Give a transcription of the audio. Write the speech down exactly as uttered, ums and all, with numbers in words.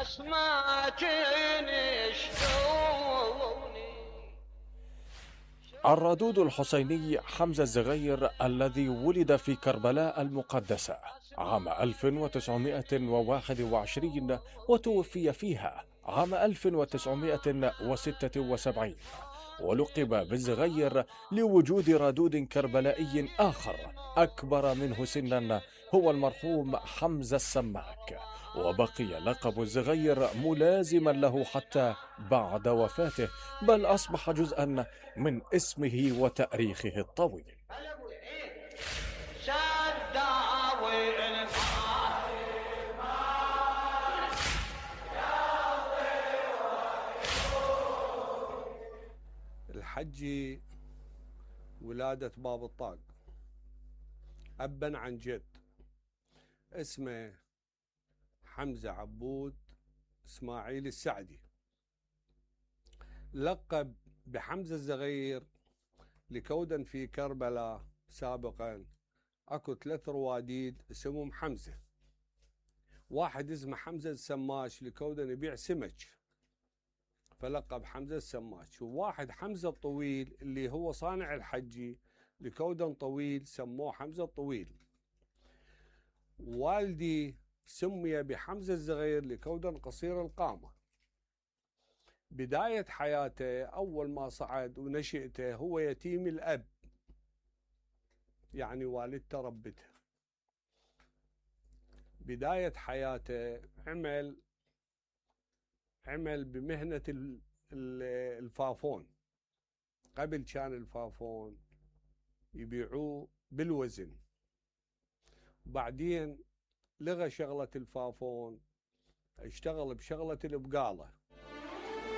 اسمعك شلوني. الردود الحسيني حمزة الزغير الذي ولد في كربلاء المقدسة عام ألف وتسعمائة وواحد وعشرين وتوفي فيها عام ألف وتسعمائة وستة وسبعين، ولقب بالزغير لوجود ردود كربلائي آخر أكبر منه سنا هو المرحوم حمزة السماك، وبقي لقب الزغير ملازما له حتى بعد وفاته، بل أصبح جزءا من اسمه وتاريخه الطويل. الحجي ولادة باب الطاق، أبا عن جد، اسمه حمزة عبود إسماعيل السعدي، لقب بحمزة الزغير لكودا في كربلاء سابقا اكو ثلاث رواديد اسمهم حمزة، واحد اسمه حمزة السماش لكودا يبيع سمك فلقب حمزة السماش، وواحد حمزة الطويل اللي هو صانع الحجي لكودا طويل سموه حمزة الطويل. والدي سمي بحمزة الزغير لكودا قصير القامة. بداية حياته أول ما صعد ونشئته هو يتيم الأب، يعني والدته ربته. بداية حياته عمل عمل بمهنة الفافون، قبل كان الفافون يبيعوه بالوزن، وبعدين لغى شغلة الفافون، اشتغل بشغلة البقالة،